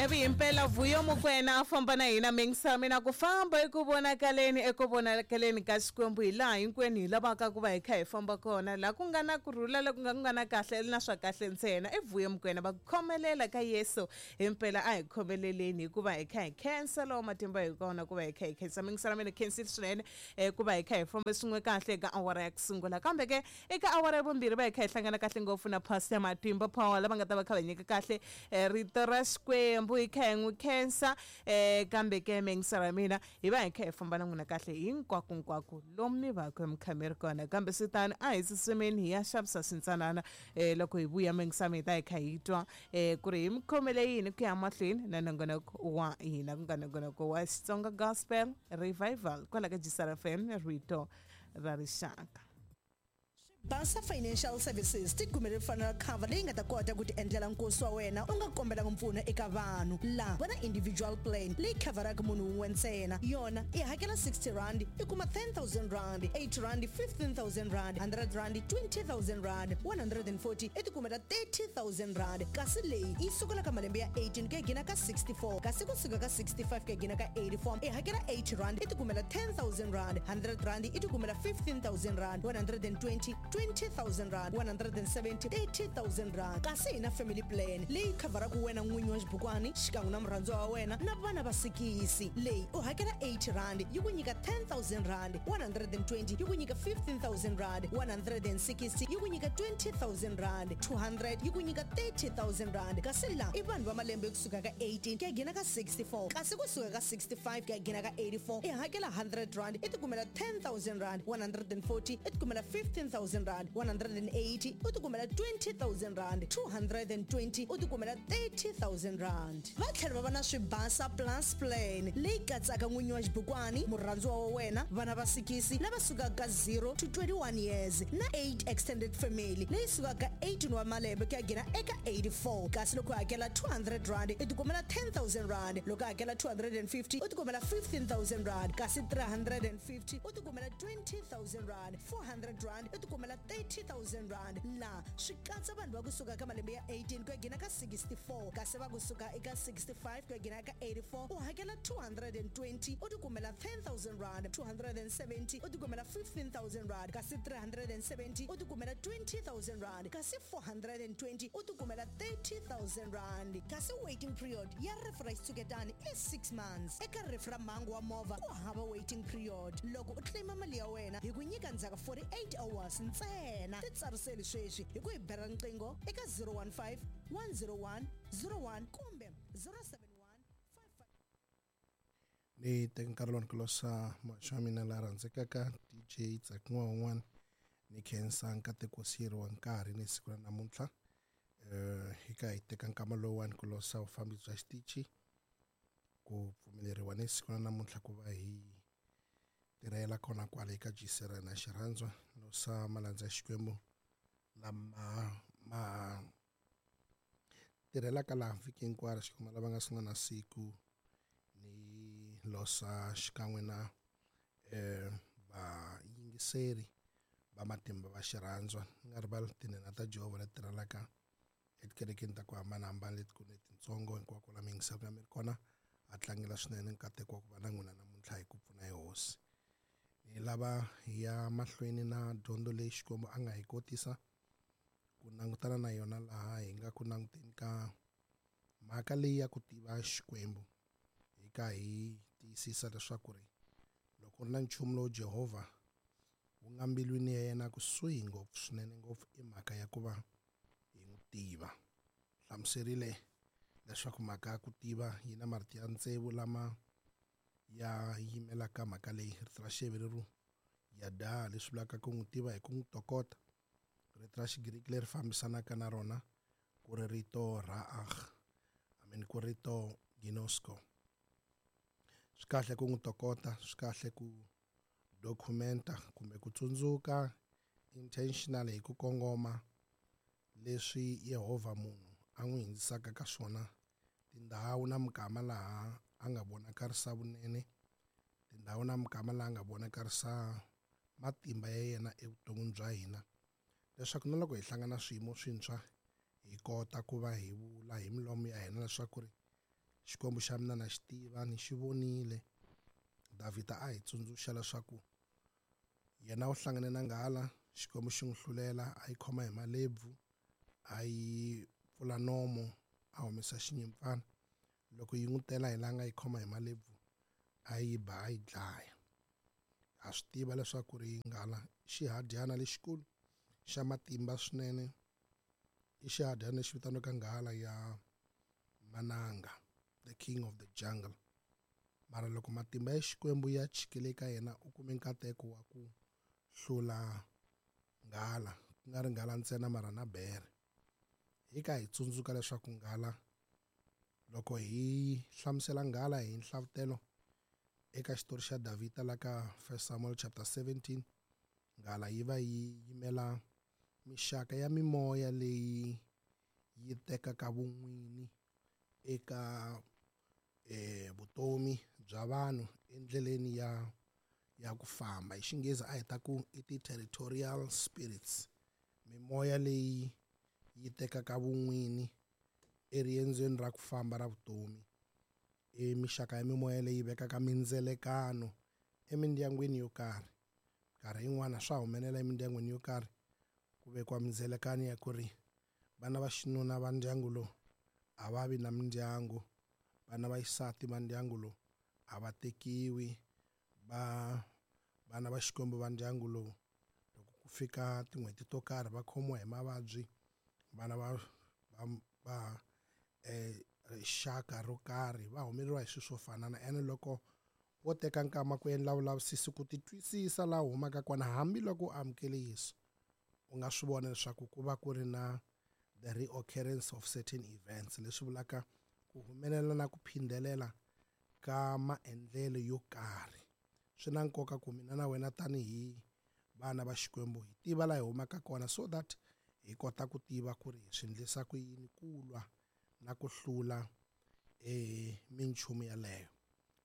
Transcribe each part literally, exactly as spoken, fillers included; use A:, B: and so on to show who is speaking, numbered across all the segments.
A: Evi impela Vuyo Mokwena a famba na hina mingisa mina ku famba eku vonakaleni eku vonakaleni ka Xikwembu hi laha hinkwenu hi lavaka ku va hi kha hi famba kona laha ku nga na kurhula la ku nga ku nga na kahle na swa kahle ntsena. I Vuyo Mokwena va ku khomelela ka Yesu himpela a hi khomeleleni hikuva hi kha hi khensa lowa matimba hi kona ku va hi kha hi khensa mingisa ra mina khensile swinene eh, ku va hi kha hi famba swin'we kahle eka awara ya ku sungula kambe ke eka awara ya vumbirhi va hi kha hi hlangana kahle ngopfu na Pastor Matimba Power lava nga ta va kha va nyika kahle eh, rito ra Xikwembu hi kha hi n'wi khensa eh, kambe ke mingisa ra mina hi va hi kha hi famba na n'wina kahle hinkwakunkwako lomu mi va ku mi kha mi ri kona kambe swi tani a hi tsutsumeni hi ya xavisa swintsanana eh, loko hi vuya mingisa mi hi ta hi kha hi twa eh, ku ri hi mi khomele yini ku ya mahlweni na nongonoko wa hina ku nga nongonoko wa Xitsonga Gospel Revival kwala ka G S R F M, rito ra rixaka.
B: Basa Financial Services ti kumele funeral cover leyi nga ta kota ku ti endlela nkosi wa wena u nga kombelanga mpfuno eka vanhu. Laha va na individual plan leyi khavharaka munhu wun'we ntsena. Yona i hakela sixty rand, i kuma ten thousand rand, eighty rand fifteen thousand rand, hundred rand twenty thousand rand, one hundred forty i ti kumela thirty thousand rand. Kasi leyi yi sukela ka malembe ya eighteen ku ya gina ka sixty-four, kasi kusuka ka sixty-five ku ya gina ka eighty-four i hakela eighty rand, i ti kumela ten thousand rand, hundred rand i ti kumela fifteen thousand rand, one hundred twenty twenty thousand rand, one hundred seventy thirty thousand rand. Kasi hi na family plan leyi khavharaka wena n'winyi wa xibukwani xikan'we na murhandziwa wa wena na vana va sikisi. Leyi u hakela eighty rand, yi ku nyika ten thousand rand, one hundred twenty yi ku nyika fifteen thousand rand, one hundred sixty yi ku nyika twenty thousand rand, two hundred yi ku nyika thirty thousand rand. Kasi laha i vanhu va malembe kusuka ka eighteen ku ya gina ka sixty-four, kasi kusuka ka sixty-five ku ya gina ka eighty-four i hakela hundred rand, i ti kumela ten thousand rand, one hundred forty i ti kumela fifteen thousand rand, one hundred eighty u ti kumela twenty thousand rand, two hundred twenty u ti kumela thirty thousand rand. Va tlhela va va na Swibasa Plus plan leyi katsaka n'winyi wa xibukwani, murhandziwa wa wena, vana va sikisi lava sukaka ka zero to twenty-one years na eight extended family leyi sukaka ka eighteen wa malembe ku ya gina eka eighty-four. Kasi loko u hakela two hundred rand, i ti kumela ten thousand rand. Loko u hakela two hundred fifty, u ti kumela fifteen thousand rand, kasi three hundred fifty u ti kumela twenty thousand rand, four hundred rand i ti kumela thirty thousand rand. Laha swi katsa vanhu va kusuka ka malembe ya eighteen ku ya gina ka sixty-four, kasi va kusuka eka sixty-five ku ya gina ka eighty-four u hakela two hundred twenty, u ti kumela ten thousand rand, two hundred seventy u ti kumela fifteen thousand rand, kasi three hundred seventy u ti kumela twenty thousand rand, kasi four hundred twenty u ti kumela thirty thousand rand. Kasi waiting period ya rifu ra xitshuketani i six months. Eka rifu ra mhangu wa movha ku hava waiting period. Loko u claima mali ya wena hi ku nyika ndzhaku forty-eight hours ntsena. Titsariseli sweswi hi ku hi bela riqingho eka zero one five one zero one zero one kumbe zero seven one
C: Ni teka nkarhi lowu ni ku losa muhaxi wa mina la rhandzekaka D J Tsakin'wa un'wana, ni khensa nkateko wo siyeriwa nkarhi ni siku ra namuntlha um hi ka hi teka nkama lowuwani ku losa vufambi bya xitichi ku pfumeleriwa ni siku ra namuntlha ku va hi tirhela kona kwale eka G C R na xirhandzwa. Losa malandza ya Xikwembu lama ma tirhelaka laha vhiki hinkwaro Xikwembu lava nga sungula na siku, ni losa xikan'we na eh vayingiseri va matimba va xirhandzwa, ni nga rivali tinhenha ta Jehovha leti tirhelaka etikerekeni ta ku hambanahambana letikulu letitsongo hinkwako la mi yingisaka mi ri kona. A tlangela swinene nkateko wa ku va na n'wina namuntlha hi ku pfuna hi Hosi. Hi lava hi ya mahlweni na dyondzo leyi Xikwembu a nga hi kotisa ku langutana na yona laha hi nga ku languteni ka mhaka leyi ya ku tiva Xikwembu, hi ka hi tiyisisa leswaku ri loko ku ri na nchumu lowu Jehovha wu nga mbilwini ya yena kusuhi ngopfu swinene ngopfu i mhaka ya ku va hi n'wi tiva. Hlamuserile leswaku mhaka ya ku tiva yi na marito ya tsevu lama ya yimelaka mhaka leyi. Rito ra Xiheveru yada, leswi vulaka ku n'wi tiva hi ku n'wi tokota. Rito ra Xigiriki leri fambisanaka na rona ku ri rito raah, I mean ku rito ginosko. Swi kahle ku n'wi tokota, swi kahle ku documenta kumbe ku tsundzuka intentionally hi ku kongoma leswi Yehovha munhu a n'wi hindzisaka ka swona, tindhawu na mikama laha a nga vonakarisa vunene, tindhawu na mikama laha a nga vonakarisa matimba ya yena evuton'wini bya hina, leswaku na loko hi hlangana swiyimo swintshwa hi kota ku va hi vula hi milomu ya hina leswaku ri Xikwembu xa mina na xi tiva ni xi vonile. Davhida a hi tsundzuxa leswaku yena u hlangane na nghala, Xikwembu xi n'wi hlulela, a yi khoma hi malebvu, a yi pfula nomo, a humesa xinyimpfana. Loko yi n'wi tela hi laha nga yi khoma hi malebvu, a yi ba a yi dlaya. Ha swi tiva leswaku ri nghala xihadyana lexikulu xa matimba swinene, i xihadyana lexi vitaniwaka nghala ya mananga, the king of the jungle. Mara loko matimba ya Xikwembu ya chikile eka yena, u kume nkateko wa ku hlula nghala, ku nga ri nghala ntsena mara na bere. Hi ka hi tsundzuka leswaku nghala, loko hi hlamusela nghala hi nhlavutelo eka xitori xa Davhida la ka First Samuel chapter seventeen, nghala yi va yi yimela mixaka ya mimoya leyi yi tekaka vun'wini eka eh vutomi bya vanhu endleleni ya ya ku famba. Hi Xinghezi a hi ta ku i ti-territorial spirits, mimoya leyi yi tekaka vun'wini eriendzweni ra ku famba ra vutomi. I mixaka ya mimoya leyi vekaka mindzelekano emindyangwini yo karhi. Nkarhi yin'wana swa humelela emindyangwini yo karhi ku vekiwa mindzelekano ya ku ri vana va xinuna va ndyangu lowu a va vi na mindyangu, vana va xisati va ndyangu lowu a va tekiwi, va vana va Xikwembu va ndyangu lowu loko ku fika tin'hweti to karhi va khomiwa hi mavabyi, vana va va va eh rixaka ro karhi va humeleriwa hi swilo swo fana na. Ene loko wo teka nkama ku endla vulavisisi ku ti twisisa laha u humaka kona, hambiloko u amukele Yesu, u nga swi vona leswaku ku va ku ri na the reoccurrence of certain events, leswi vulaka ku humelela na ku phindelela ka maendlelo yo karhi. Swi na nkoka ku mina na wena tanihi vana va Xikwembu hi tiva laha hi humaka kona, so that hi kota ku tiva ku ri hi swi endlisa ku yini ku lwa na ku hlula eh minchumu yaleyo.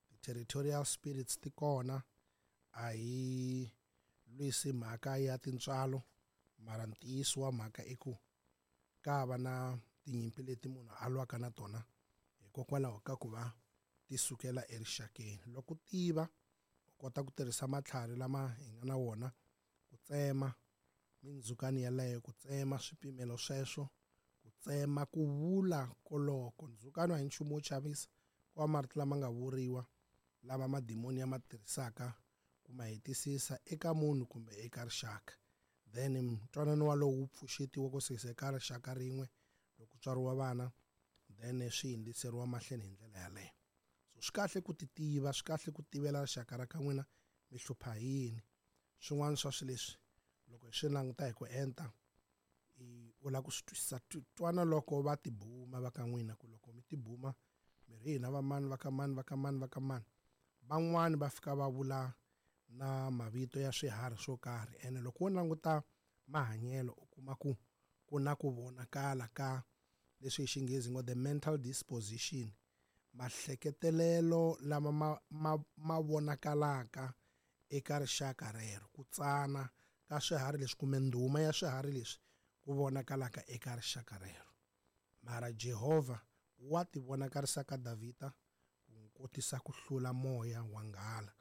C: Ti-territorial spirits ti kona, a hi lwisi mhaka ya tintswalo, mara ntiyiso wa mhaka i ku ka va na tinyimpi leti munhu a lwaka na tona hikokwalaho ka ku va ti sukela erixakeni. Loko u tiva, u kota ku tirhisa matlhari lama hi nga na wona ku tsema mindzhukani yaleyo, ku tsema swipimelo sweswo, ku tsema ku vula koloko. Ndzhukano a hi nchumu wo chavisa, ku va marito lama nga vuriwa lama madimoni ya ma tirhisaka ku ma hetisisa eka munhu kumbe eka rixaka. Then ntwanano walowo wu pfuxetiwa ku suka eka rixaka rin'we loko tswariwa vana, then swi hundziseriwa mahlweni hi ndlela yaleyo. So swi kahle ku ti tiva, swi kahle ku tivela rixaka ra ka n'wina mi hlupha hi yini. Swin'wana swa swilo leswi loko hi swi languta hi ku enta, u lava ku swi twisisa, twana loko va tibuma va ka n'wina, ku loko mi tibuma mi ri hina va mani va ka mani va ka mani va ka mani, van'wani va fika va vula na mavito ya swiharhi swo karhi. Ene loko wo languta mahanyelo u kuma ku ku na ku vonakala ka leswi hi Xinghezi ngo the mental disposition, mahleketelelo lama ma, ma, ma vonakalaka eka rixaka rero, ku tsana ka swiharhi leswi kumbe ndhuma ya swiharhi leswi ku vonakalaka eka rixaka rero. Mara Jehovha wa ti vonakarisa ka Davhida ku n'wi kotisa ku hlula moya wa nghala.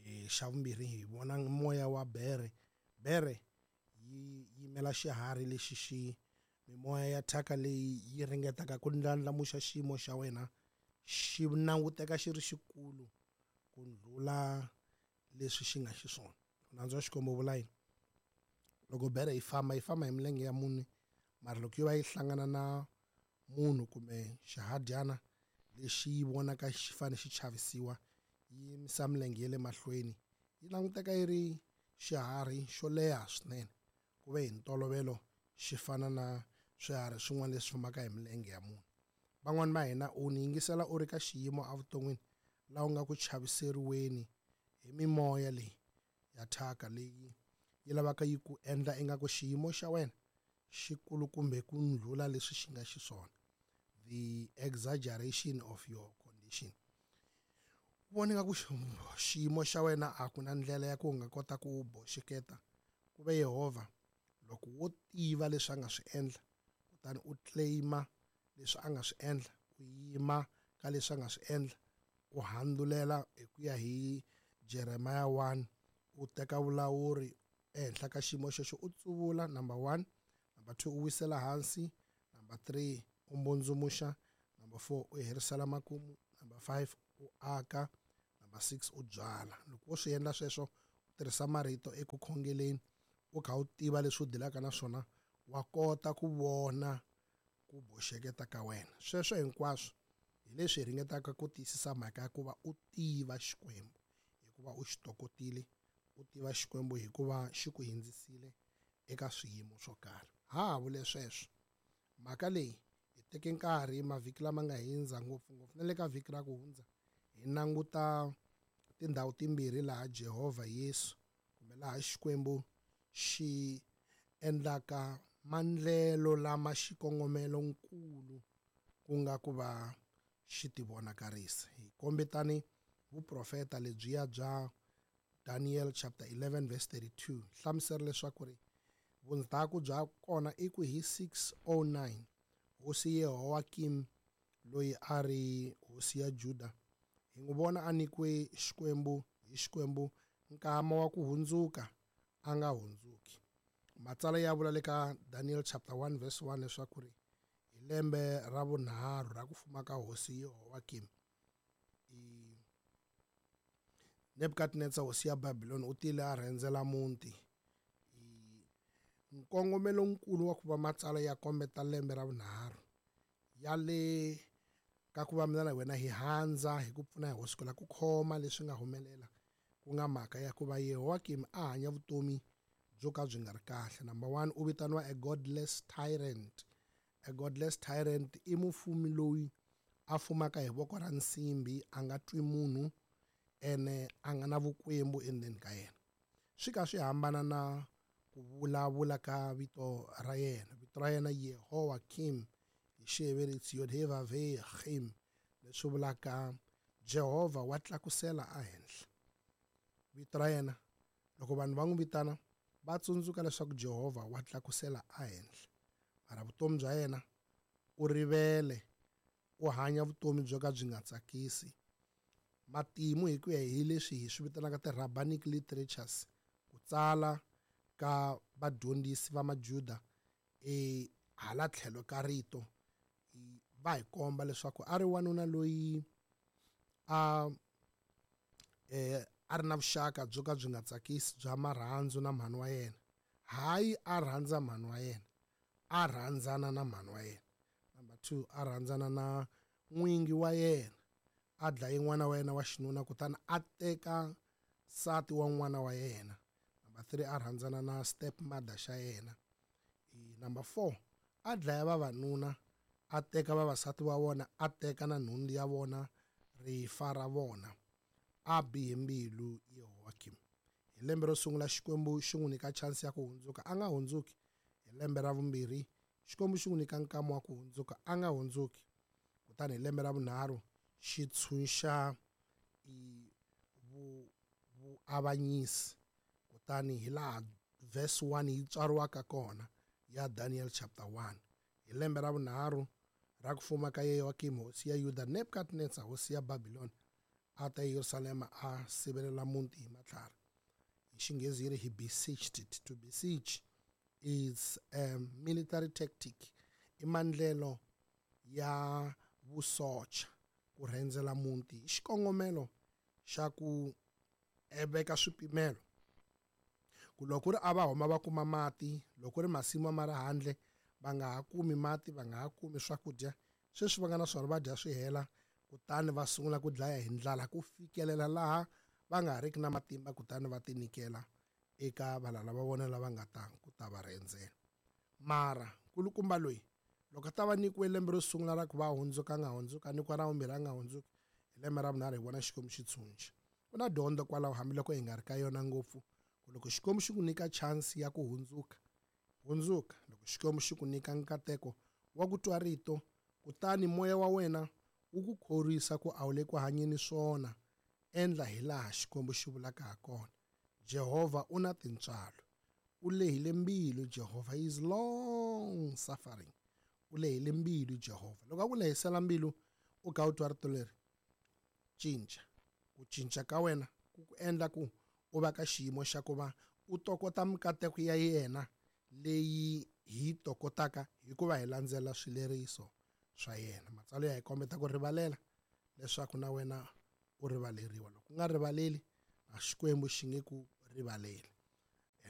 C: E xa vumbirhi hi vona moya wa bere. Bere yi yimela xiharhi lexi xi mimoya ya thyaka leyi yi ringetaka ku ndlandlamuxa xiyimo xa wena xi languteka xi ri xikulu ku ndlula leswi xi nga xiswona. Nandzu wa Xikwembu vula yini? Loko bere yi famba, yi famba hi milenge ya mune, mara loko yi va yi hlangana na munhu kumbe xihadyana lexi yi vonaka xi fanele xi chavisiwa, yi yimisa milenge ya le mahlweni, yi languteka yi ri xiharhi xo leha swinene, ku ve hi ntolovelo xi fana na swiharhi swin'wana leswi fambaka hi milenge ya munhu. Van'wani va hina u ni yingisela u ri ka xiyimo evuton'wini laha u nga ku chaviseriweni hi mimoya leyi ya thyaka leyi yi lavaka yi ku endla ingaku xiyimo xa wena xi kulukumbe ku ndlula leswi xi nga xiswona, the exaggeration of your condition. U vona ingaku xiyimo xa wena a ku na ndlela ya ku u nga kota ku boxeketa, ku ve Yehovha loko wo tiva leswi a nga swi endla, kutani u claima leswi a nga swi endla, u yima ka leswi a nga swi endla, u handzulela hi ku ya hi Jeremiah one, u teka vulawuri ehenhla ka xiyimo xexo, u tsuvula number one, number two u wisela hansi, number three u mbundzumuxa, number four u herisela makumu, number five u aka, number six u byala. Loko wo swi endla sweswo, u tirhisa marito eku khongeleni, u kha u tiva leswi u dilaka na swona, wa kota ku vona ku boxeketa ka wena. Sweswo hinkwaswo hi leswi hi ringetaka ku tiyisisa mhaka ya ku va u tiva Xikwembu, hikuva u xi tokotile, u tiva Xikwembu hikuva xi ku hindzisile eka swiyimo swo karhi. Ha ha vule sweswo, mhaka leyi hi teke nkarhi mavhiki lama nga hindza, ngopfungopfu na le ka vhiki ra ku hundza, hi languta tindhawu timbirhi laha Jehovha Yesu kumbe laha Xikwembu xi endlaka mandlelo lama xikongomelonkulu ku nga ku va xi tivonakarisa. Hi kombetani vuprofeta lebyiya bya Daniel chapter eleven verse thirty-two, hlamusela leswaku ri vundzhaku bya kona i ku hi six oh nine hosi Yehoyakim loyi a ri hosi ya Juda, hi n'wi vona a nyikiwe Xikwembu hi Xikwembu nkama wa ku hundzuka, a nga hundzuki. Matsalwa ya vula le ka Daniel chapter one verse one leswaku ri hi lembe ra vunharhu ra ku fuma ka hosi Yehoyakim, Nebukadnezar hosi ya Babylon u tile a rhendzela muti. Nkongomelonkulu wa ku va matsalwa ya kombeta lembe ra vunharhu ya le ka ku va mina na wena hi handza hi ku pfuna hi hosi ku la ku khoma leswi nga humelela, ku nga mhaka ya ku va Yehoyakim a hanya vutomi byo ka byi nga ri kahle. Number one, u vitaniwa a godless tyrant. A godless tyrant i mufumi loyi a fumaka hi voko ra nsimbi, a nga twi munhu ene a nga na vukwembu endzeni ka yena. Swi ka swi hambana na ku vulavula ka vito ra yena. Vito ra yena Yehoyakim hi Xiheveri it's Yod-Heh-Vav-Heh-Chim, leswi vulaka Jehovha wa tlakusela ehenhla. Vito ra yena loko vanhu va n'wi vitana va tsundzuka leswaku Jehovha wa tlakusela ehenhla. Mara vutomi bya yena u rivele, u hanya vutomi byo ka byi nga tsakisi. Matimu hi ku ya hi leswi hi swi vitanaka ti-rabbinic literatures, ku tsala ka vadyondzisi va Majuda e hala tlhelo ka rito, va hi komba leswaku a ri wanuna loyi a eh a ri na vuxaka byo ka byi nga tsakisi bya marhandzu na mhani wa yena. Hayi a rhandza mhani wa yena, a rhandzana na mhani wa yena. Number two, a rhandzana na n'wingi wa yena, a dlaye n'wana wa yena wa xinuna kutani a teka nsati wa n'wana wa yena. Number three, a rhandzana na stepmother xa yena. Number four, a dlaya vavanuna, a teka vavasati va vona, a teka na nhundzu ya vona, rifa ra vona. A bihe mbilu Yehoyakim. Hi lembe ro sungula Xikwembu xi n'wi nyika chance ya ku hundzuka, a nga hundzuki. Hi lembe ra vumbirhi Xikwembu xi n'wi nyika nkama wa ku hundzuka, a nga hundzuki. Kutani hi lembe ra vunharhu xi tshunxa vuavanyisi. Kutani hi laha verse one yi tswariwaka kona ya Daniel chapter one. Hi lembe ra vunharhu ra ku fuma ka Yehoyakim hosi ya Yuda, Nebukadnezar hosi ya Babylon a ta Yerusalema a sivelela muti hi matlhari. Hi Xinghezi yi ri he besieged it. To besiege is a military tactic, i mandlelo ya vusocha ku rhendzela muti hi xikongomelo xa ku veka swipimelo. Ku loko ku ri a va huma va kuma mati, loko ku ri masimu ma ri handle va nga ha kumi mati, va nga ha kumi swakudya, sweswi va nga na swona va dya swi hela, kutani va sungula ku dlaya hi ndlala ku fikelela laha va nga ha riki na matimba, kutani va tinyikela eka valala va vona lava nga ta ku ta va rhendzela. Mara nkulukumba loyi loko a ta va nyikiwe lembe ro sungula ra ku va hundzuka a nga hundzuka, a nyikiwa ra vumbirhi a nga hundzuki, hi lembe ra vunharhu hi vona Xikwembu xi tshunxa. Ku na dyondzo kwalaho hambiloko hi nga ri ka yona ngopfu, ku loko Xikwembu xi ku nyika chance ya ku hundzuka, hundzuka. Loko Xikwembu xi ku nyika nkateko wa ku twa rito, kutani moya wa wena wu ku khorwisa ku a wu le ku hanyeni swona, endla hi laha Xikwembu xi vulaka ha kona. Jehovha u na tintswalo, u lehile mbilu. Jehovha is long suffering, u lehile mbilu Jehovha. Loko a ku lehisela mbilu, U kha u twa rito leri, cinca. Ku cinca ka wena ku ku endla ku u va ka xiyimo xa ku va u tokota mikateko ya yena leyi hi tokotaka hikuva hi landzela swileriso swa yena. Matsalwa ya hi kombeta ku rivalela leswaku na wena u rivaleriwa. Loko u nga rivaleli, a Xikwembu xi nge ku rivaleli.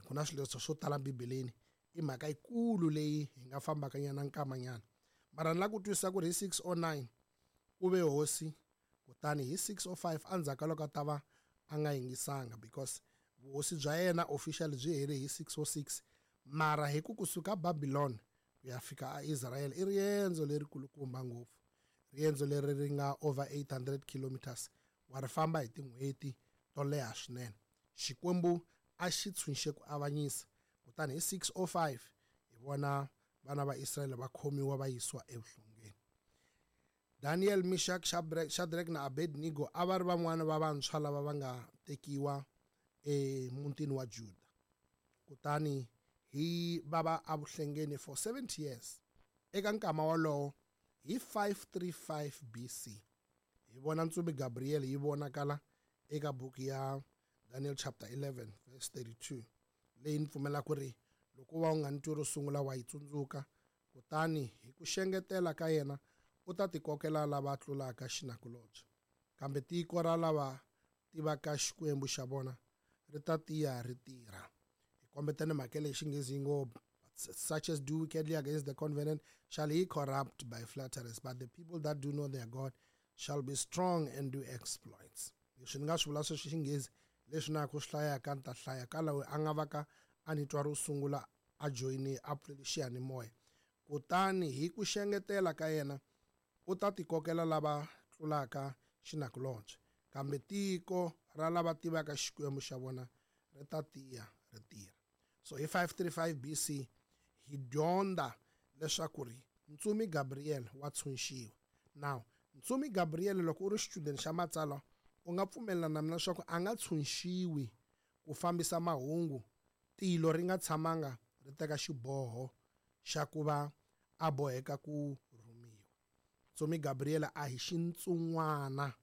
C: Ku na swileriso swo tala Bibeleni, i mhaka yikulu leyi hi nga fambaka nyana nkamanyana. Mara ni lava ku twisisa ku ri hi six oh nine u ve hosi, kutani hi six oh five endzhaku ka loko a ta va a nga yingisanga, because vuhosi bya yena officially byi hele hi six oh six. Mara hi ku kusuka Babylon ku ya fika a Israel i riendzo lerikulukumba ngopfu, riendzo leri ri nga over eight hundred kilometers, wa ri famba hi tin'hweti to leha swinene. Xikwembu a xi tshunxe ku avanyisa, kutani hi six oh five hi vona vana va Israel va khomiwa va yisiwa evuhlongeni. Daniel, Meshach, Shadrach na Abednego a va ri van'wana va vantshwa lava va nga tekiwa emutini wa Juda, kutani hi va va evuhlengeni for seventy years. Eka nkama wolowo hi five three five B C hi vona ntsumi Gabriel yi vonakala eka buku ya Daniel chapter eleven verse thirty-two, leyi ni pfumela ku ri loko va u nga ni twi ro sungula wa yi tsundzuka. Kutani hi ku xengetela ka yena u ta tikokela lava tlulaka xinakulobye, kambe tiko ra lava tivaka Xikwembu xa vona ri ta tiya ri tirha. Hi kombetene mhaka leyi xinghezi yi ngo, such as do wickedly against the covenant shall he corrupt by flatteries, but the people that do know their God shall be strong and do exploits. Leswi ni nga swi vula sweswi xinghezi leswi na ku swi hlayaka ni ta hlaya ka loyi a nga va ka a ni twa ro sungula a joyine a pfulele xiyanimoya. Kutani hi ku xengetela ka yena u ta tikokela lava tlulaka xinakulobye, kambe tiko ra lava tivaka Xikwembu xa vona ri ta tiya ri tirha. So hi five three five B C hi dyondza leswaku ri ntsumi Gabriel wa tshunxiwa. Now ntsumi Gabriel, loko u ri student xa matsalwa, u nga pfumelelana na mina leswaku a nga tshunxiwi ku fambisa mahungu tilo ri nga tshamanga ri teka xiboho xa ku va a boheka ku rhumiwa. Ntsumi Gabriel a hi xintsungwana.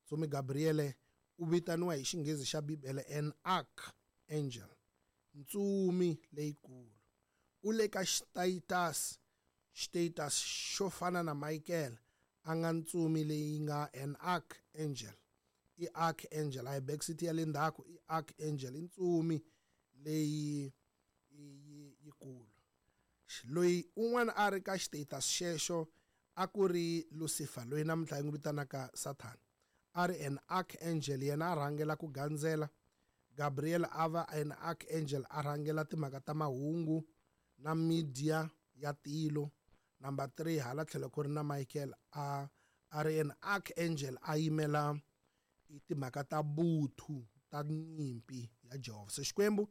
C: Ntsumi Gabriel u vitaniwa hi xinghezi xa Bibele an archangel, ntsumi leyikulu. U le ka status, status xo fana na Michael, a nga ntsumi leyi nga an archangel. I archangel, a hi backseat ya le ndzhaku, i archangel, i ntsumi leyi yikulu. Loyi un'wana a ri ka status xexo a ku ri Lucifer, loyi namuntlha hi n'wi vitanaka Satan. A ri an archangel, yena a rhangela ku gandzela. Gabriel a va an archangel, a rhangela timhaka ta mahungu na media ya tilo. Number three, hala tlhelo ku ri na Michael, a a ri an archangel, a yimela timhaka ta vuthu ta nyimpi ya Jehovah. So Xikwembu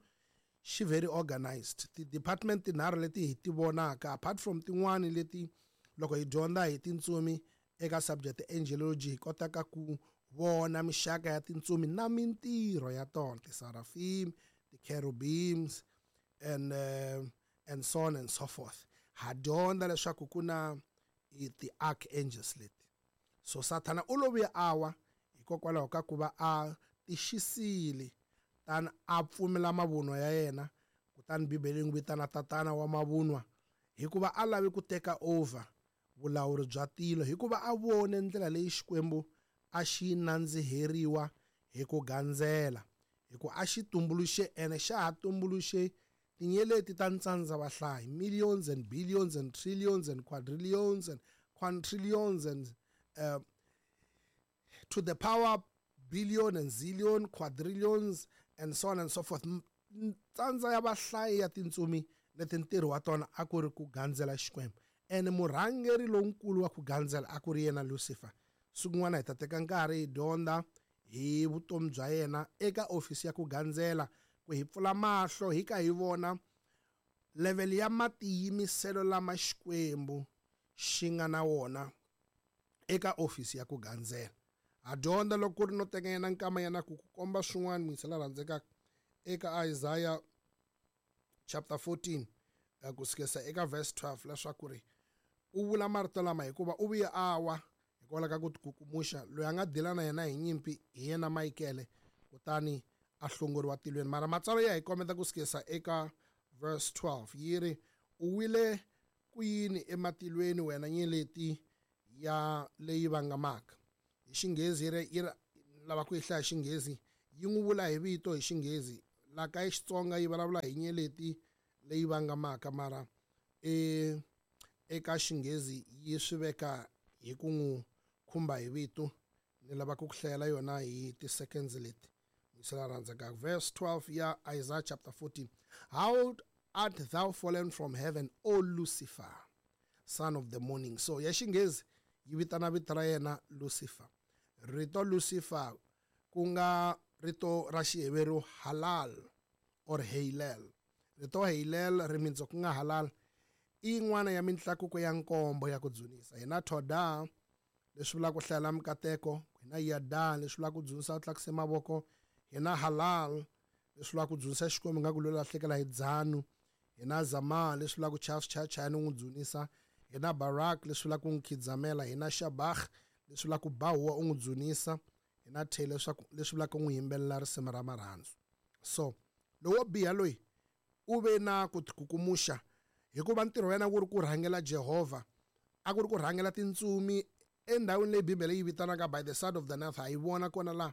C: xi very organized. Ti-department tinharhu leti hi ti vonaka, apart from tin'wani leti loko hi dyondza hi tintsumi eka subject angelology hi kotaka ku vona mixaka ya tintsumi na mintirho ya tona, ti-seraphim, ti-cherubims and, uh, and so on and so forth. Ha dyondza leswaku ku na ti-archangels leti. So Sathana u lo vuya a wa hikokwalaho ka ku va a tixisile, tani a pfumela mavunwa ya yena, kutani Bibele yi n'wi vitana tatana wa mavunwa, hikuva a lavi ku teka over vulawuri bya tilo, hikuva a vone ndlela leyi Xikwembu a xi nandziheriwa hi ku gandzela, hikuva a xi tumbuluxe ene xa ha tumbuluxe tinyeleti ta ntsandza vahlayi, millions and billions and trillions and quadrillions and quintillions and, uh, to the power billion and zillion, quadrillions and so on and so forth. Ntsandza ya vahlayi ya tintsumi leti ntirho wa tona a ku ri ku gandzela Xikwembu. Ene murhangeri lonkulu wa ku gandzela a ku ri yena Lucifer. Siku rin'wana hi ta teka nkarhi hi dyondza hi vutomi bya yena eka ofisi ya ku gandzela, ku hi pfula mahlo hi ka hi vona level ya matiyimiselo lama Xikwembu xi nga na wona eka ofisi ya ku gandzela. Ha dyondza loko ku ri no teka yena nkama yena ku ku komba swin'wana muyingisela rhandzekaka eka Isaiah chapter fourteen ku sukela eka verse twelve, leswaku ri u vula marito lama hikuva u vuye a wa Hikwalaho ka ku tikukumuxa, loyi a nga dila na yena hi nyimpi hi yena Michael, kutani a hlongoriwa tilweni. Mara matsalwa ya hi kombeta ku sukisa eka verse twelve yi ri, u wile ku yini ematilweni wena nyeleti ya leyi vangamaka. Hi Xinghezi yi ri, yi ri lava ku yi hlaya Xinghezi, yi n'wi vula hi vito hi Xinghezi. La ka Xitsonga yi vulavula hi nyeleti leyi vangamaka, mara e eka Xinghezi yi swi veka hi ku n'wi khumba hi vito. Ni lava ku ku hlayela yona hi ti-seconds leti. Verse twelve ya Isaiah chapter fourteen. How art thou fallen from heaven, O Lucifer, son of the morning. So ya Xinghezi yi vitana vito ra yena Lucifer. Rito Lucifer ku nga rito ra Xiheveru halal or heilel. Rito heilel rimitso ku nga halal i yin'wana ya mintlakuko ya nkombo ya ku dzunisa. Hina Toda leswi vulaka ku hlayela mikateko, hina Yada leswi vulaka ku dzunisa u tlakuse mavoko, hina halal leswi vulaka ku dzunisa Xikwembu nga ku loyi lahlekela hi dzanu, hina Zama leswi vulaka ku chaya swichayachayani u n'wi dzunisa, hina Barak leswi vulaka ku n'wi khidzamela, hina Shabach leswi vulaka ku ba huwa u n'wi dzunisa, hina The leswaku leswi vulaka ku n'wi yimbelela risimu ra marhandzu. So lowo biha loyi u ve na ku tikukumuxa hikuva ntirho wa yena wu ri ku rhangela Jehovha, a ku ri ku rhangela tintsumi endhawini leyi Bibele yi vitanaka by the side of the north. Ha yi vona kona la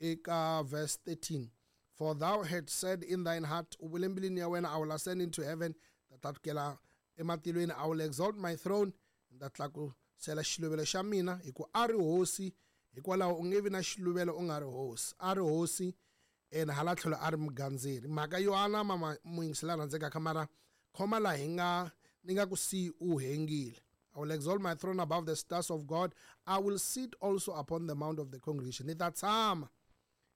C: eka verse thirteen. For thou had said in thine heart, u vule mbilwini ya wena, I will ascend into heaven, ta tlakukela ematilweni, I will exalt my throne, ta tlakusela xiluvelo xa mina, hi ku a ri hosi, hikwalaho u nge vi na xiluvelo u nga ri hosi. A ri hosi and hala tlhelo a ri mugandzeri. Mhaka yo anama muyingisela rhandzekaka, mara khoma laha hi nga ni nga ku si u hengile. I will exalt my throne above the stars of God. I will sit also upon the mount of the congregation. Ni ta tshama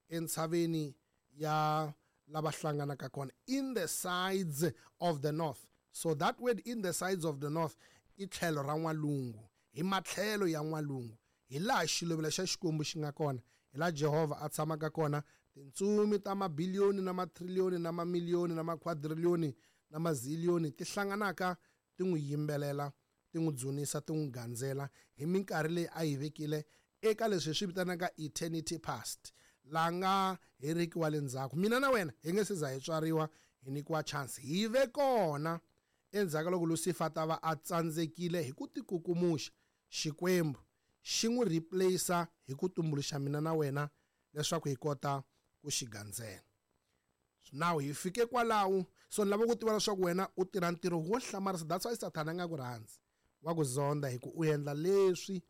C: entshaveni ya lava hlanganaka kona, in the sides of the north. So that word in the sides of the north i tlhelo ra n'walungu, hi matlhelo ya n'walungu, hi laha xiluvelo xa Xikwembu xi nga kona, hi laha Jehovha a tshamaka kona. Tintsumi ta mabiliyoni na matriliyoni na mamiliyoni na makhwadriliyoni na maziliyoni ti hlanganaka ti n'wi yimbelela, ti n'wi dzunisa, ti n'wi gandzela hi minkarhi leyi a yi vekile eka leswi hi swi vitanaka eternity past, la nga heriki wa le ndzhaku. Mina na wena hi nge se za hi tswariwa, hi nyikiwa chance hi ve kona endzhaku loko Lucifer ta va a tsandzekile hi ku tikukumuxa, Xikwembu xi n'wi replace hi ku tumbuluxa mina na wena leswaku hi kota ku xi gandzela. Now hi fike kwalaho, so ni lava ku tiva leswaku wena u tirha ntirho wo hlamarisa. That's why Sathana a nga ku rhandzi, wa ku zonda, hi ku u endla leswi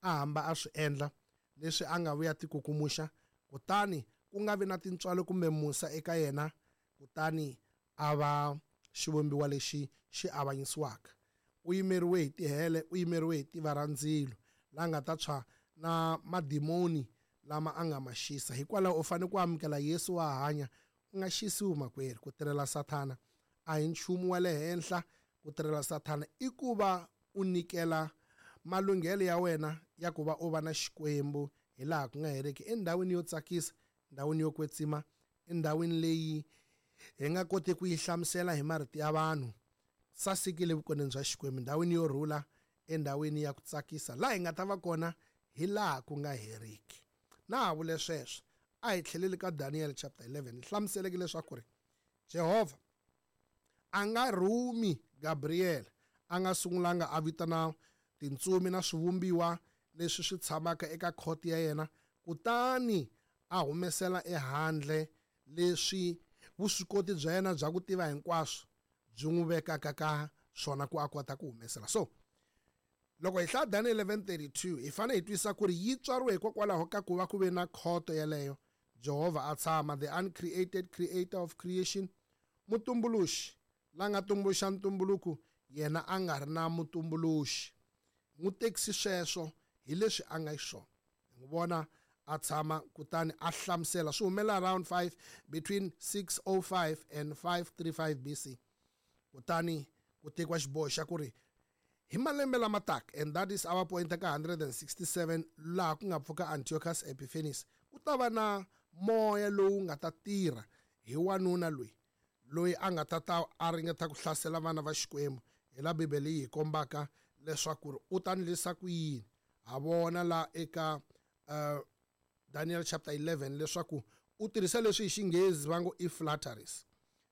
C: a hamba a swi endla, leswi a nga vuya tikukumuxa, kutani ku nga vi na tintswalo kumbe musa eka yena, kutani a va xivumbiwa lexi xi avanyisiwaka. U yimeriwe hi tihele, u yimeriwe hi tiva ra ndzilo, la nga ta tshwa na madimoni lama a nga ma xisa. Hikwalaho u fanele ku amukela Yesu wa hanya, u nga xisiwi makwerhu. Ku tirhela Sathana a hi nchumu wa le henhla. Ku tirhela Sathana i ku va u nyikela malunghelo ya wena ya ku va u va na Xikwembu hi laha ku nga heriki, endhawini yo tsakisa, endhawini yo kwetsima, endhawini leyi hi nga koti ku yi hlamusela hi marito ya vanhu. Sasekile vukoneni bya Xikwembu, endhawini yo rhula, endhawini ya ku tsakisa, laha hi nga ta va kona hi laha ku nga heriki. Na ha vule sweswo, a hi tlheleli ka Daniel chapter eleven. Hi hlamuseleke leswaku ri Jehovha a nga rhumi Gabriel, a nga sungulanga a vitana tintsumi na swivumbiwa leswi swi tshamaka eka khoti ya yena, kutani a humesela ehandle leswi vuswikoti bya yena bya ku tiva hinkwaswo byi n'wi vekaka ka swona ku a kota ku humesela. So loko hi hlaya Daniel eleven thirty-two, hi fanele hi twisisa ku ri yi tswariwe hikokwalaho ka ku va ku ve na khoto yeleyo. Jehovha a tshama, the uncreated creator of creation, mutumbuluxi la nga tumbuluxa ntumbuluko, yena a nga ri na mutumbuluxi. N'wi tekisi sweswo hi leswi a nga xiswona. Hi n'wi vona a tshama kutani a hlamusela. Swi humelela around five, between six oh five and five three five B C. Kutani ku tekiwa xiboho xa ku ri hi malembe lama taka, and that is our point ka hundred and sixty-seven, laha ku nga pfuka Antiochus Epiphanes, ku ta va na moya lowu nga ta tirha hi wanuna loyi, loyi a nga ta ta a ringeta ku hlasela vana va Xikwembu. Hi la Bibele yi hi kombaka leswaku ri u ta ndlisa ku yini. Ha vona la eka uh, Daniel chapter eleven leswaku u tirhisa leswi hi xinghezi va ngo i flatteries.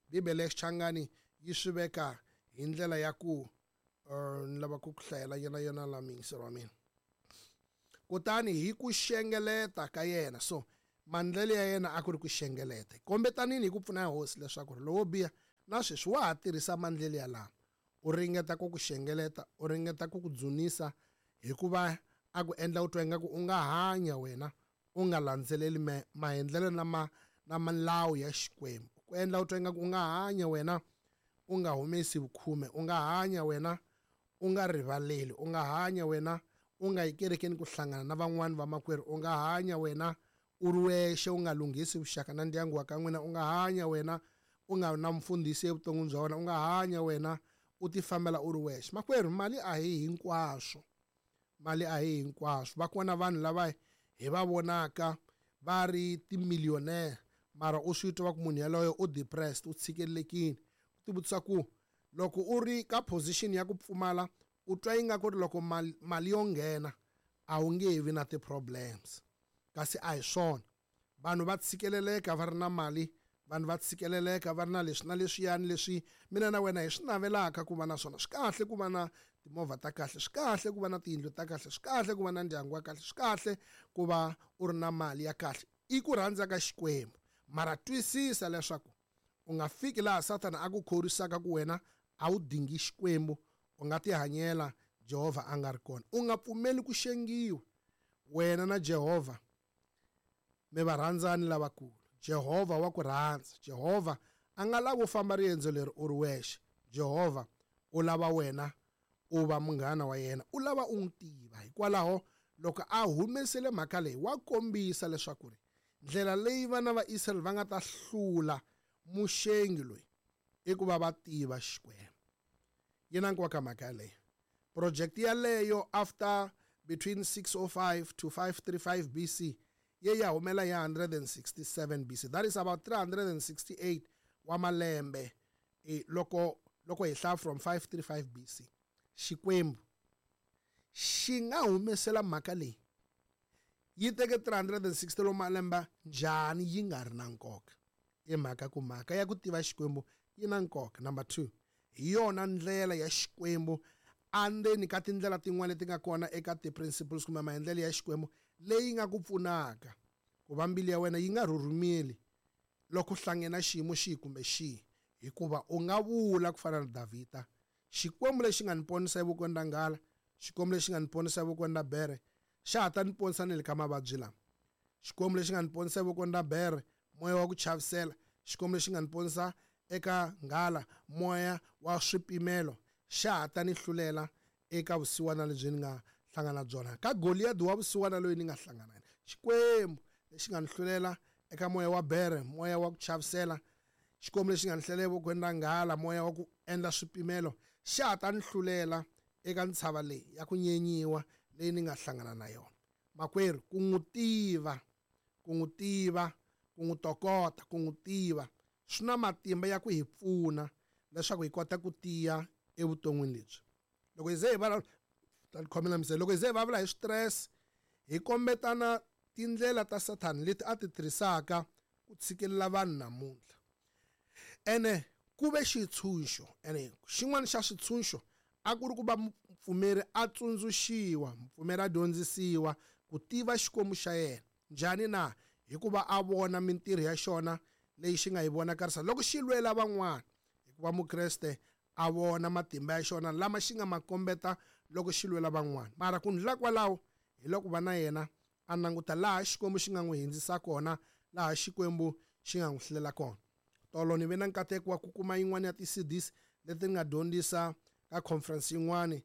C: Bibele ya Xichangani yi swi veka hi ndlela ya ku uh, ni lava ku ku hlayela yena yona la muyingiseri wa mina. Kutani hi ku xengeleta ka yena, so mandlele ya yena a ku ri ku xengeleta. Kombetanini hi ku pfuna hosi leswaku lowo biha na sweswi wa ha tirhisa mandlele ya lama. U ringeta ku ku xengeleta, u ringeta ku ku dzunisa hikuva a ku endla u twa ingaku u nga hanya wena u nga landzeleli maendlelo na ma na milawu ya Xikwembu. Ku endla u twa ingaku u nga hanya wena u nga humesi vukhume, u nga hanya wena u nga rivaleli, u nga hanya wena u nga yi kerekeni ku hlangana na van'wani vamakwerhu, u nga hanya wena u ri wexe u nga lunghisi vuxaka na ndyangu wa ka n'wina, u nga hanya wena u nga na mfundhisi evuton'wini bya wena, u nga hanya wena u ti fambela u ri wexe. Makwerhu, mali a hi hinkwaswo, mali a hi hinkwaswo. Va kona vanhu lava hi va vonaka va ri timillionaire, mara u swi twa ku munhu yaloye u depressed, u tshikelelekile. U tivutisa ku loko u ri ka position ya ku pfumala, u twa ingaku ri loko mali, mali yo nghena a wu nge vi na ti-problems, kasi a hi swona. Vanhu va tshikeleleka va ri na mali, vanhu va tshikeleleka va ri na leswi na leswiyani leswi mina na wena hi swi navelaka ku va na swona. Swi kahle ku va na timovha ta kahle, swi kahle ku va na tiyindlu ta kahle, swi kahle ku va na ndyangu wa kahle, swi kahle ku va u ri na mali ya kahle. I ku rhandza ka Xikwembu, mara twisisa leswaku u nga fiki laha Sathana a ku khorisaka ku wena a wu dingi Xikwembu, u nga tihanyela Jehovha a nga ri kona. U nga pfumeli ku xengiwa. Wena na Jehovha mi va rhandzani lavakulu. Jehovha wa ku rhandza. Jehovha a nga lavi u famba riendzo leri u ri wexe. Jehovha u lava wena u va munghana wa yena, u lava u n'wi tiva. Hikwalaho loko a humesele mhaka leyi, wa kombisa leswaku ri ndlela leyi vana va Israyele va nga ta hlula muxengi loyi i ku va va tiva Xikwembu. Yi na nkoka mhaka yaleyo. Project yaleyo after between six oh five to five thirty-five B C ye ya humela ya one sixty-seven B C. That is about three hundred sixty-eight wa malembe e loko loko hi hlaya from five thirty-five B C. Xikwembu xi nga humesela mhaka leyi yi teke three hundred sixty lo malembe njhani yi nga ri na nkoka? I mhaka ku mhaka ya ku tiva Xikwembu yi na nkoka. Number two, hi yona ndlela ya Xikwembu andzeni ka tindlela tin'wana leti nga kona eka ti-principles kumbe maendlelo ya Xikwembu leyi nga ku pfunaka ku va mbilu ya wena yi nga rhurhumeli loko hlangene na xiyimo xihi kumbe xihi, hikuva u nga vula ku fana na Davhida, Xikwembu lexi nga ni ponisa evokweni ra nghala, Xikwembu lexi nga ni ponisa evokweni ra bere, xa ha ta ni ponisa ni le ka mavabyi lama. Xikwembu lexi nga ni ponisa evokweni ra bere, moya wa ku chavisela, Xikwembu lexi nga ni ponisa eka nghala, moya wa swipimelo, xa ha ta ni hlulela eka vusiwana lebyi ni nga hlangana na byona, ka Goliath wa vusiwana loyi ni nga hlangana na yena. Xikwembu lexi nga ni hlulela eka moya wa bere, moya wa ku chavisela, Xikwembu lexi nga ni hlulela evokweni ra nghala, moya wa ku endla swipimelo, xa ha ta ni hlulela eka ntshava leyi ya ku nyenyiwa leyi ni nga hlangana na yona. Makwerhu, ku n'wi tiva, ku n'wi tiva, ku n'wi tokota, ku n'wi tiva swi na matimba ya ku hi pfuna leswaku hi kota ku tiya evuton'wini lebyi. Loko hi ze hi vulavula, ta khomela misava, loko hi ze hi vulavula hi stress, hi kombetana tindlela ta Sathana leti a ti tirhisaka ku tshikelela vanhu namuntlha. Ene ku ve xitshunxo, ene xin'wana xa switshunxo a ku ri ku va mupfumeri a tsundzuxiwa, mupfumeri a dyondzisiwa ku tiva Xikwembu xa yena. Njhani na? Hikuva a vona mintirho ya xona leyi xi nga yi vonakarisa loko xi lwela van'wana. Hikuva Mukreste a vona matimba ya xona lama xi nga ma kombeta loko xi lwela van'wana. Mara ku ndlula kwalaho hi loko va na yena a languta laha Xikwembu xi nga n'wi hindzisa kona, laha Xikwembu xi nga n'wi hlulela kona. Tolo ni ve na nkateko wa ku kuma yin'wana ya ti-C Ds leti nga dyondzisa ka conference yin'wani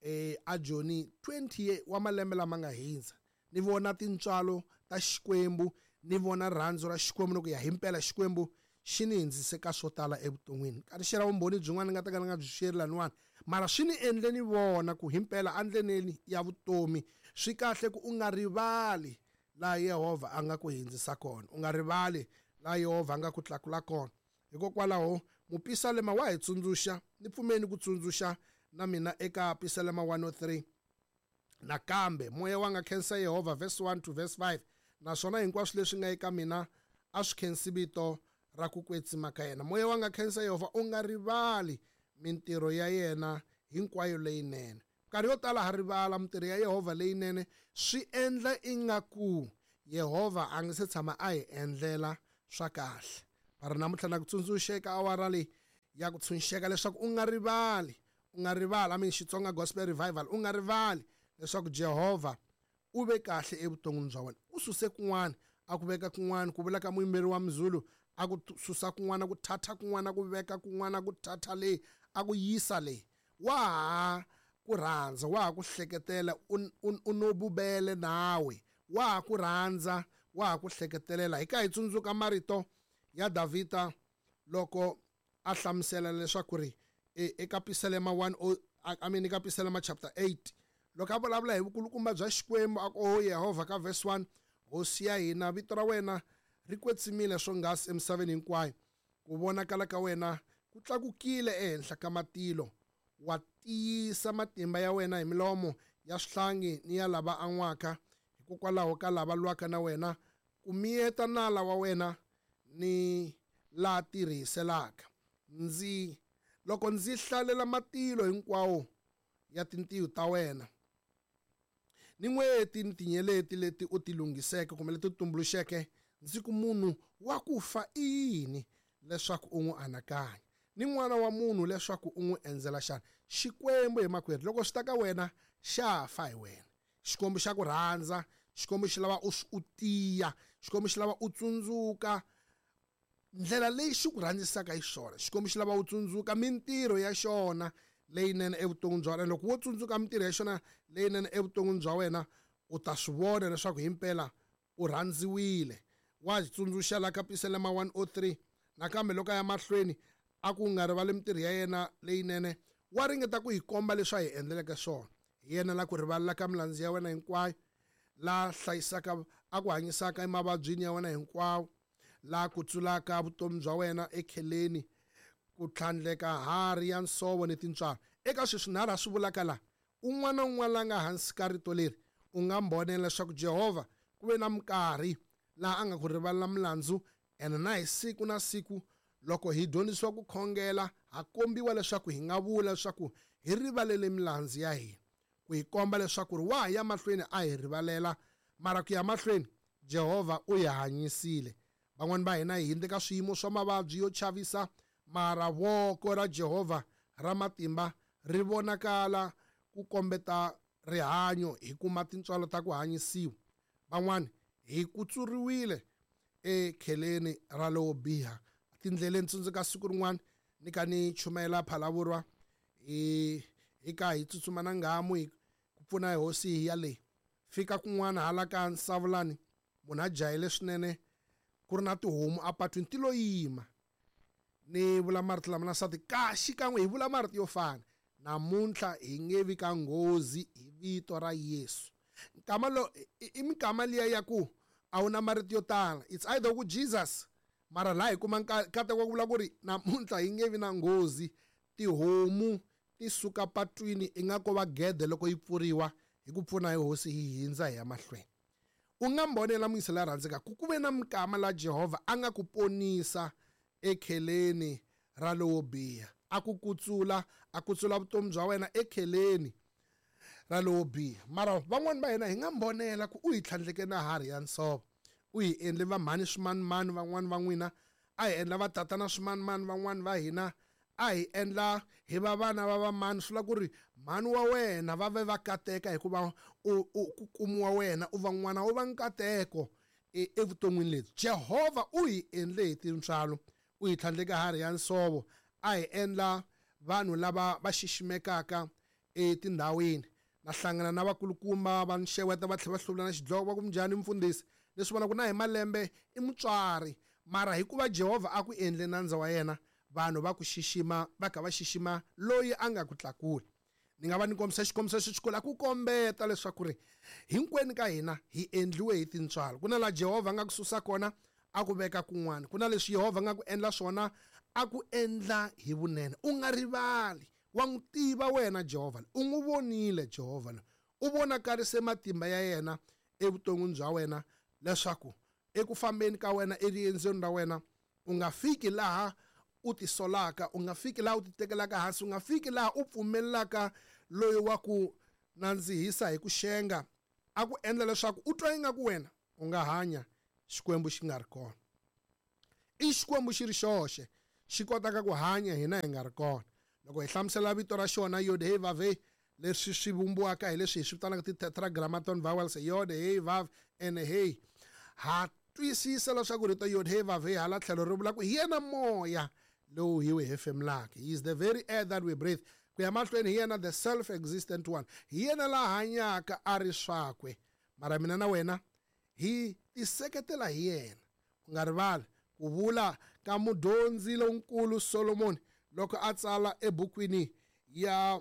C: eh a Joni twenty wa malembe lama nga hindza. Ni vona tintswalo ta Xikwembu, ni vona rhandzu ra Xikwembu loko ya himpela Xikwembu xi ni hindzise ka swo tala evuton'wini. Ka ri xera vumbhoni byin'wana ni nga ta ka ni nga byi xeri laniwani, mara swi ni endle ni vona ku himpela endleleni ya vutomi swi kahle ku u nga rivali laha Yehovha a nga ku hindzisa kona, u nga rivali laha Yehovha a nga ku tlakula kona. Hikokwalaho mupisalema wa hi tsundzuxa, ni pfumeni ku tsundzuxa na mina eka Pisalema one oh three Nakambe moya wa nga khensa Yehovha, verse one to verse five, naswona hinkwaswo leswi nga eka mina a swi khensi vito ra ku kwetsima ka yena. Moya wa nga khensa Yehovha, u nga rivali mintirho ya yena hinkwayo leyinene. Nkarhi yo tala ha rivala mintirho ya Yehovha leyinene, swi endla ingaku Yehovha a nga se tshama a hi endlela swa kahle. Mara namuntlha na ku tsundzuxa eka awara leyi ya ku tshunxeka leswaku u nga rivali, u nga rivali, I mean Xitsonga Gospel Revival, u nga rivali leswaku Jehovha u ve kahle evuton'wini bya wena. U suse kun'wana a ku veka kun'wana, ku vula ka muyimberi wa Mzulu, a ku susa kun'wana, ku thatha kun'wana, ku veka kun'wana, ku thatha leyi, a ku yisa leyi. Wa ha ku rhandza, wa ha ku hleketela, u no bubele nawe, wa ha ku rhandza, wa ha ku hleketelela. Hi ka hi tsundzuka marito ya Davhida loko a hlamusela leswaku ri eka Pisalema one oh, I mean eka Pisalema chapter eight, loko a vulavula hi vukulukumba bya Xikwembu, a ku, oh Yehovha, ka verse one, Hosi ya hina, vito ra wena ri kwetsimile swonghasi emisaveni hinkwayo, ku vonakala ka wena ku tlakukile ehenhla ka matilo, wa tiyisa matimba ya wena hi milomo ya swihlangi ni ya lava an'waka, hikokwalaho ka lava lwaka na wena, ku miyeta nala wa wena ni la tirhiselaka. Ndzi loko ndzi hlalela matilo hinkwawo ya tintiho ta wena, ni n'weti ni tinyeleti leti u ti lunghiseke kumbe leti u tumbuluxeke, ndzi ku munhu wa ku fa i yini leswaku u n'wi anakanya, ni n'wana wa munhu leswaku u n'wi endzela xana? Xikwembu hi makwerhu, loko swi ta ka wena xa fa hi wena. Xikwembu xa ku rhandza, Xikwembu xi lava u u tiya, Xikwembu xi lava u tsundzuka ndlela leyi xi ku rhandzisaka hi xona. Xikwembu xi lava u tsundzuka mintirho ya xona leyinene evuton'wini bya wena. Loko wo tsundzuka mintirho ya xona leyinene evuton'wini bya wena, u ta swi vona leswaku himpela u rhandziwile. Wa tsundzuxa la ka Pisalema one oh three, nakambe loko a ya mahlweni a ku nga rivali mintirho ya yena leyinene, wa ringeta ku hi komba leswi a hi endleleke swona. Hi yena la ku rivalela ka milandzu ya wena hinkwayo, la hlayisaka a ku hanyisaka emavabyini ya wena hinkwawo, la kutsulaka vutomi bya wena ekheleni, ku tlhandleka harhi ya nsovo ni tintswalo. Eka sweswi nharhu a swi vulaka la, un'wana na un'wana la nga hansi ka rito leri, u nga mbonela leswaku Jehovha ku ve na minkarhi laha a nga ku rivalela milandzu, ene na hi siku na siku loko hi dyondzisiwa ku khongela, ha kombiwa leswaku hi nga vula leswaku hi rivalele milandzu ya hina, ku hi komba leswaku ri wa ha ya mahlweni a hi rivalela, mara ku ya mahlweni Jehovha u hi hanyisile. Van'wani va hina hi hundze ka swiyimo swa mavabyi yo chavisa, mara voko ra Jehovha ra matimba ri vonakala ku kombeta rihanyo, hi kuma tintswalo ta ku hanyisiwa. Van'wani hi kutsuriwile ekheleni ra lowo biha. Tindleleni, tsundzuka siku rin'wana ni ka ni chumayela Phalavurwa, hi hi ka hi tsutsuma na nghamu hi ku pfuna hi hosi hi ya leyi. Fika kun'wana hala ka Nsavulani, munhu a jahile swinene, ku ri na tihomu apatwini ti lo yima. Ni vula marito lama na nsati ka xikan'we hi vula marito yo fana, namuntlha hi nge vi ka nghozi hi vito ra Yesu. Nkama lo i minkama liya ya ku a wu na marito yo tala, it's either ku Jesus, mara laha hi kuma nkateko wa ku vula ku ri namuntlha hi nge vi na nghozi. Tihomu ti suka patwini i nga ko va gede loko yi pfuriwa, hi ku pfuna hi hosi hi hindza hi ya mahlweni. U nga mbonela muyisa la rhandzeka ku ku ve na minkama la Jehovha a nga ku ponisa ekheleni ra lowo biha, a ku kutsula, a kutsula vutomi bya wena ekheleni ra lowo biha. Mara van'wani va hina hi nga mbonela ku u hi tlhandleke na harhi ya nsovo, u hi endle va mhani swimanimani van'wani va n'wina, a hi endla va tatana swimanimani van'wani va hina, a hi endla hi va vana va vamani. Swi vula ku ri mhani wa wena va ve va kateka hikuva u, u ku kumiwa wena u va n'wana u va nkateko evuton'wini lebyi. Jehovha u hi endle hi tintswalo, u hi tlhandleka harhi ya nsovo, a hi endla vanhu lava va xiximekaka etindhawini. Na hlangana na vakulukumba va nxeweta va tlhela va hluvula na xidloko, va ku njhani mfundhisi, leswi vonaka na hi malembe i mutswari, mara hikuva Jehovha a ku endle nandza wa yena, vanhu va ku xixima, va kha va xixima loyi a nga ku tlakula. Ni nga va ni kombisa xikombiso xi xikulu ku kombeta leswaku ri hinkwenu ka hina hi endliwe hi tintswalo. Ku na laha Jehovha a nga ku susa kona a ku veka kun'wana, ku na leswi Yehovha a nga ku endla swona a ku endla hi vunene. U nga rivali, wa n'wi tiva wena Jehovha, u n'wi vonile Jehovha, U vonakarise matimba ya yena evuton'wini bya wena leswaku eku fambeni ka wena eriendzweni ra wena u nga fiki laha u tisolaka, u nga fiki laha u titekelaka hansi, u nga fiki laha u pfumelelaka loyi wa ku nandzihisa hi ku xenga a ku endla leswaku u twa ingaku wena u nga hanya Xikwembu xi nga ri kona. I Xikwembu xi ri xoxe xi kotaka ku hanya hina hi nga ri kona. Loko hi hlamusela vito ra xona Yod He Vav He, leswi swi vumbiwaka hi leswi hi swi vitanaka ti-tetragrammaton vowels, Yod He Vav and He, ha twisisa leswaku rito Yod He Vav He hala tlhelo ri vula ku hi yena moya lowu hi wu hefemulaka. He is the very air that we breathe. Ku ya mahlweni hi yena the self-existent one, hi yena la hanyaka a ri swakwe. Mara mina na wena hi tiseketela hi yena. U nga rivali ku vula ka mudyondzi lonkulu Solomon loko a tsala ebukwini ya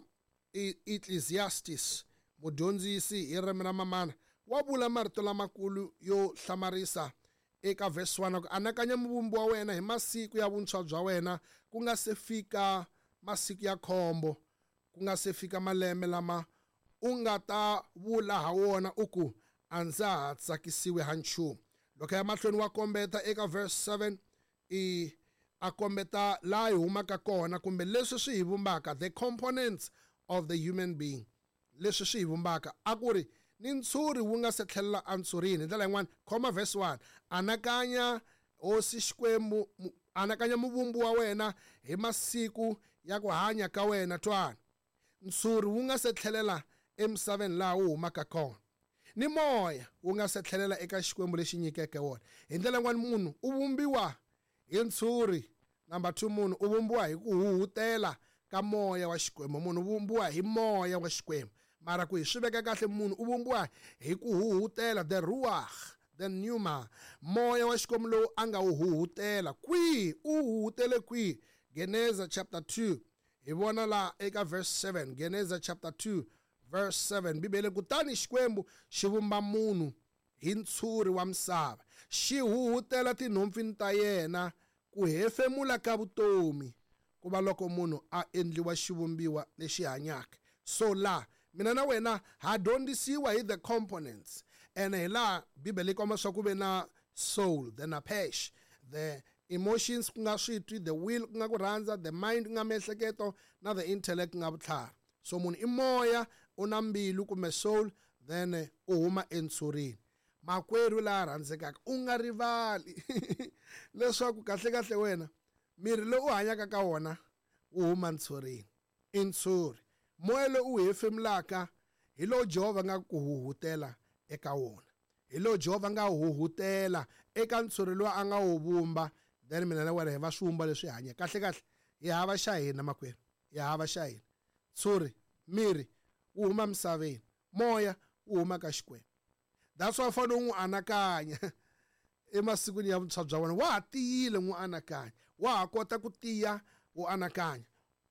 C: Ecclesiastes, mudyondzisi hi ririmi ra mamana wa vula marito lamakulu yo hlamarisa eka verse one, ku anakanya muvumbi wa wena hi masiku ya vuntshwa bya wena, ku nga se fika masiku ya khombo, ku nga se fika malembe lama u nga ta vula ha wona u ku a ndza ha tsakisiwi ha nchumu. Loko ya mahlweni wa kombeta eka verse seven, i a kombeta laha hi humaka kona kumbe leswi swi hi vumbaka, the components of the human being, leswi swi hi vumbaka. A ku ri ni ntshuri wu nga se tlhelela entshurini. Hi ndlela yin'wana, khoma verse one, anakanya hosi Xikwembu, anakanya muvumbi wa wena hi masiku ya ku hanya ka wena. Twana, ntshuri wu nga se tlhelela emisaveni laha wu humaka kona, ni moya wu nga se tlhelela eka Xikwembu lexi nyikeke wona. Hi ndlela yin'wana, munhu u vumbiwa hi ntshuri. Number two, munhu u vumbiwa hi ku huhutela ka moya wa Xikwembu. Munhu u vumbiwa hi moya wa Xikwembu. Mara ku hi swi veka kahle, munhu u vumbiwa hi ku huhutela, the ruach, the pneuma, moya wa Xikwembu lowu a nga wu huhutela. Kwihi u huhutele kwihi? Geneza chapter two, hi vona laha eka verse seven. Geneza chapter two verse seven, Bibele, kutani Xikwembu xi vumba munhu hi ntshuri wa misava, xi huhutela tinhompfini ta yena ku hefemula ka vutomi, ku va loko munhu a endliwa xivumbiwa lexi hanyaka. So la mina na wena ha dyondzisiwa hi the components, and hi laha Bibele yi komba swa ku ve na soul, the napesh, the emotions ku nga switwi, the will ku nga ku rhandza, the mind ku nga miehleketo, na the intellect ku nga vutlhari. So munhu i moya, u na mbilu kumbe soul, then u huma entshurini. Makwerhu laha rhandzekaka, u nga rivali leswaku kahle kahle wena miri lowu u hanyaka ka wona wu huma ntshurini, i ntshuri. Moya lowu u hefemulaka hi lowu Jehovha nga ku huhutela eka wona, hi lowu Jehovha nga huhutela eka ntshuri lowu a nga wu vumba. Then mina na wena hi va swivumba leswi hanyaka. Kahle kahle hi hava xa hina makwerhu, hi hava xa hina. Ntshuri, miri wu huma misaveni, moya wu huma ka Xikwembu. That's why u fanele u n'wi anakanya emasikwini ya vuntshwa bya wena. Wa ha tiyile, n'wi anakanya, wa ha kota ku tiya u anakanya.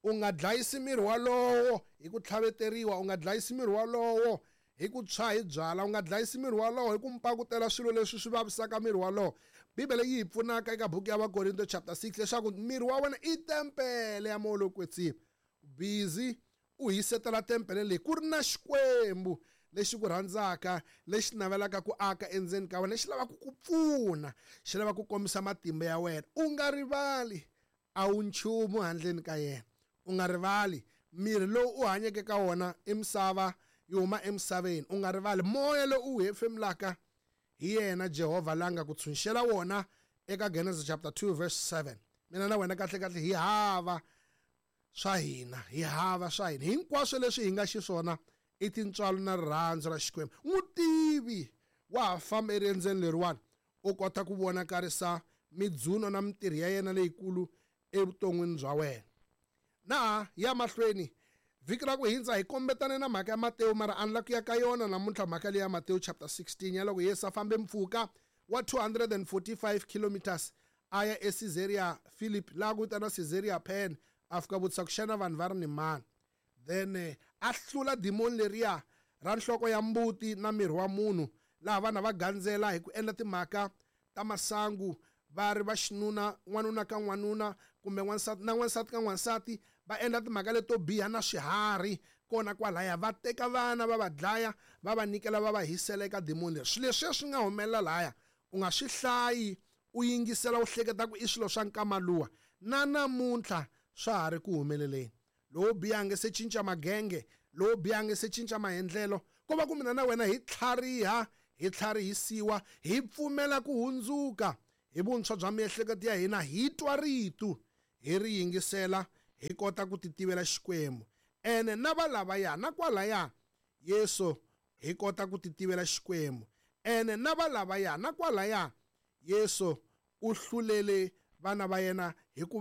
C: U nga dlayisi miri walowo hi ku tlhaveteriwa, u nga dlayisi miri walowo hi ku tshwa hi byala, u nga dlayisi miri walowo hi ku mpakutela swilo leswi swi vavisaka miri walowo. Bibele yi hi pfunaka eka buku ya Vakorinto chapter six leswaku miri wa wena i tempele ya moya lowo kwetsima. Busy u hisetela tempele leyi ku ri na Xikwembu lexi ku rhandzaka, lexi navelaka ku aka endzeni ka wena, lexi lavaka ku pfuna, xi lava ku kombisa matimba ya wena. U nga rivali a wu nchumu handleni ka yena. U nga rivali miri lowu u hanyeke ka wona i misava, yi huma emisaveni. U nga rivali moya lowu u hefemulaka hi yena Jehovha la nga ku tshunxela wona eka Genesis chapter two verse seven. Mina na wena kahle kahle hi hava swa hina, hi hava swa hina. Hinkwaswo leswi hi nga xiswona i tintswalo na rirhandzu ra Xikwembu. N'wi tivi wa ha famba eriendzweni leriwani, u kota ku vonakarisa midzuno na mintirho ya yena leyikulu evuton'wini bya wena. Na ya mahlweni, vhiki ra ku hindza hi kombetane na mhaka ya Matewu, mara a ni la ku ya ka yona namuntlha mhaka leyi ya Matewu chapter sixteen ya loko Yesu a fambe mpfhuka wa two hundred and forty-five kilometers a ya eCaesarea Philippi, laha ku vitaniwa Caesarea Pen, a fika vutisa ku xana vanhu va ri ni mani. Then a hlula dimoni leriya ra nhloko ya mbuti na miri wa munhu, laha vanhu va gandzela hi ku endla timhaka ta masangu, va ri va xinuna, n'wanuna ka n'wanuna kumbe n'wansati na n'wansati ka n'wansati, va endla timhaka leto biha na swiharhi, Kona kwalaya va teka vana va va dlaya, va va nyikela, va va hisela eka demoni leri. Swilo leswiya swi nga humelela laya, u nga swi hlayi, u yingisela, u hleketa ku i swilo swa nkama luwa. Na namuntlha swa ha ri ku humeleleni. Lowo biha a nge se cinca magenge, lowo biha a nge se cinca maendlelo. Ko va ku mina na wena hi tlhariha, hi tlharihisiwa, hi pfumela ku hundzuka hi vuntshwa bya miehleketo ya hina, hi twa rito, hi ri yingisela, hi kota ku ti tivela Xikwembu. Ene na va lavaya na kwalaya Yesu, hi kota ku ti tivela Xikwembu. Ene na va lavaya na kwalaya Yesu u hlulele vana va yena hikuva